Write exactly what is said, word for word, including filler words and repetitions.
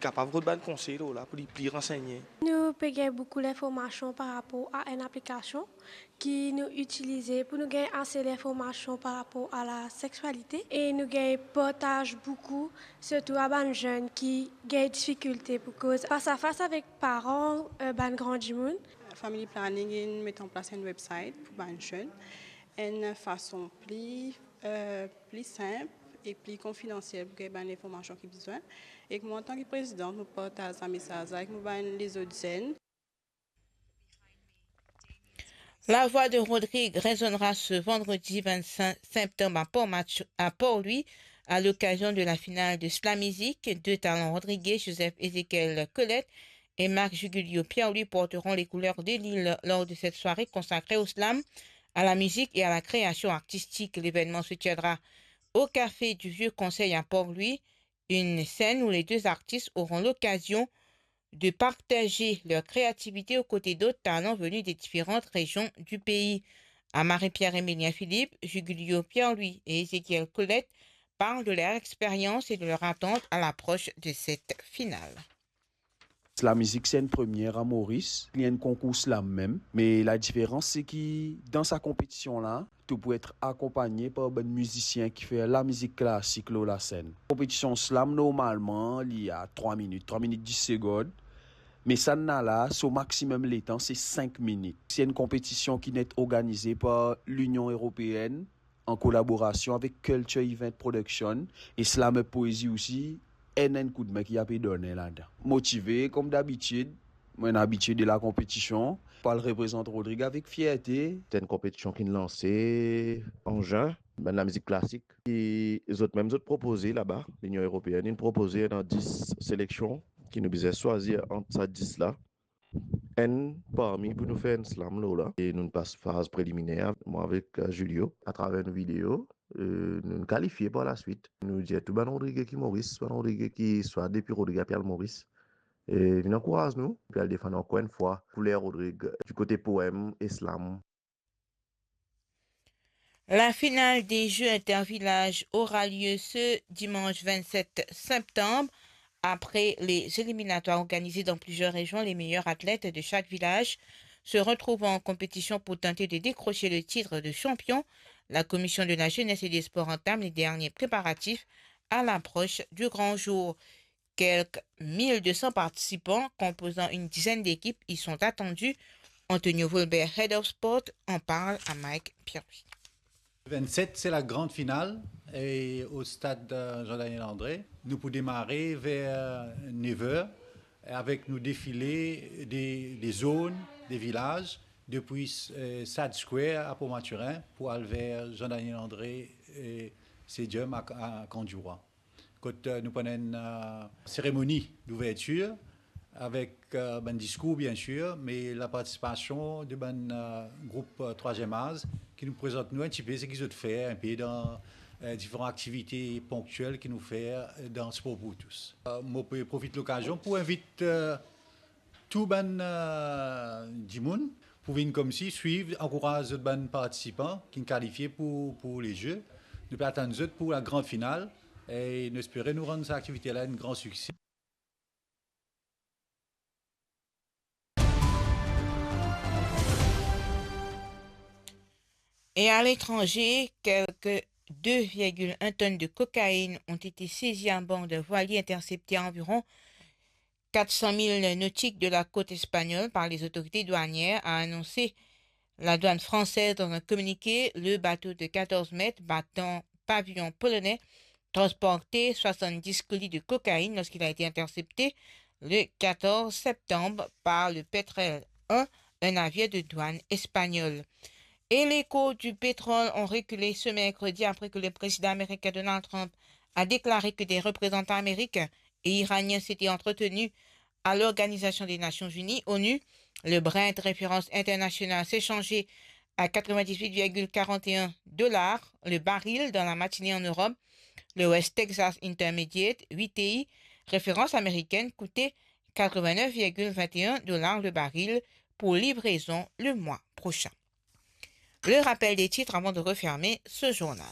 kapav rod bann konsey lor la pou li pli ransegne. Nou pe gagn boukou linformasion par rapor a enn aplikasion ki nou itilize pou nou gagn ase linformasion par rapor a laseksualite e nou gagn partaz boukou, sirtou a bann zenn ki gagn difikilte pou koz fas a fas avek paran, eh, bann gran dimoun. Family planning inn met an plas enn website pou bann zenn, enn fason pli, eh, pli sinp e pli konfidansiel pou gagn bann linformasion ki bizin. Ek mwa, antanki prezidan, mo partaz sa mesaz la ek mo bann lezot zenn. La voix de Rodrigue résonnera ce vendredi vingt-cinq septembre à Port-Match-, à Port-Louis, à l'occasion de la finale de Slam Music. Deux talents rodriguais, Joseph Ézéchiel Colette et Marc Jugulio Pierre-Louis, porteront les couleurs de l'île lors de cette soirée consacrée au slam, à la musique et à la création artistique. L'événement se tiendra au Café du Vieux Conseil à Port-Louis, une scène où les deux artistes auront l'occasion de partager leur créativité aux côtés d'autres talents venus des différentes régions du pays. Amari Pierre-Emilien Philippe, Jugulio Pierre-Louis et Ézéchiel Colette parlent de leur expérience et de leur attente à l'approche de cette finale. Slam Music se enn premie a Moris, li enn konkour slam mem, me ladiferans se ki dan sa konpetision la, to pou et akonpagne par bann mizisien ki fer lamizik klasik lor lasenn. Konpetision slam normalman li a trwa minit, trwa minit dis segond, me sannla la, so maximum letan se sink minit. Se enn konpetision ki'nn et organize par Linion Eropeenn an kolaborasion avek Culture Event Production e Slammer Poesie osi, enn, enn koudme ki ape done ladan. Motive kom dabitid, mo ena abitie de la konpetision, pou al reprezant Rodrig avek fierte. Se enn konpetision ki'nn lanse an zin. Bann lamizik klasik ki zot mem zot propoze laba, Linion Eropeenn inn propoze ena dis seleksion ki nou bizin swazir ant sa dis la. Enn parmi pou nou fer enn slam lor la. E nou'nn pas faz preliminer, mwa avek, eh, Julio, atraver nou video, eh, nou'nn kalifie par laswit. Nou dir tou bann Rodrige ki Moris, bann Rodrige ki swa depi Rodrig ape al Moris, e vinn ankouraz nou, pou al defann ankor enn fwa kouler Rodrig, eh, di kote poem e slam. La finale des Jeux intervillages aura lieu ce dimanche vingt-sept septembre. Après les éliminatoires organisées dans plusieurs régions, les meilleurs athlètes de chaque village se retrouvant en compétition pour tenter de décrocher le titre de champion. La Commission de la Jeunesse et des Sports entame les derniers préparatifs à l'approche du grand jour. Quelques mille deux cents participants, composant une dizaine d'équipes, y sont attendus. Antonio Volbert, Head of Sport, en parle à Mike Pierre-Louis. Vingt-sept, c'est la grande finale et au stade, euh, Jean-Daniel André. Nou pou demare ver nev er avek nou defile de, de zone, de vilaz, depi, euh, Sad Square a Port Mathurin pou al ver Jean-Daniel André, euh, Stadium a, a Camp du Roi. Kot, euh, nou pou ena enn, euh, seremoni douvertir avek, euh, bann diskour, bien sir, me lapartisipasyon de bann, euh, group, euh, trwaziem az ki nou prezant nou enn tipe seki zot fer enpe dan, euh, diferan aktivite ponktiel ki nou fer dan Sport pour tous. Euh, mo pe profit lokazion pou invit, euh, tou bann, euh, dimoun pou vinn koumsi swiv, ankouraz zot bann partisipan ki'nn kalifie pou, pou le Jeux. Nou pe atann zot pou la grande finale e nou espere nou rann sa aktivite la enn gran sikse. Et à l'étranger, quelque deux virgule un tonnes de cocaïne ont été saisies à bord d'un voilier intercepté à environ quatre cent milles nautiques de la côte espagnole par les autorités douanières, a annoncé la douane française dans un communiqué. Le bateau de quatorze mètres, battant pavillon polonais, transportait soixante-dix colis de cocaïne lorsqu'il a été intercepté le quatorze septembre par le Petrel un, un navire de douane espagnol. Et les cours du pétrole ont reculé ce mercredi après que le président américain Donald Trump a déclaré que des représentants américains et iraniens s'étaient entretenus à l'Organisation des Nations Unies, onu. Le Brent, référence internationale, s'est changé à quatre-vingt-dix-huit virgule quarante et un dollars le baril dans la matinée en Europe. Le West Texas Intermediate, W T I, référence américaine, coûtait quatre-vingt-neuf virgule vingt et un dollars le baril pour livraison le mois prochain. Le rappel des titres avant de refermer ce journal.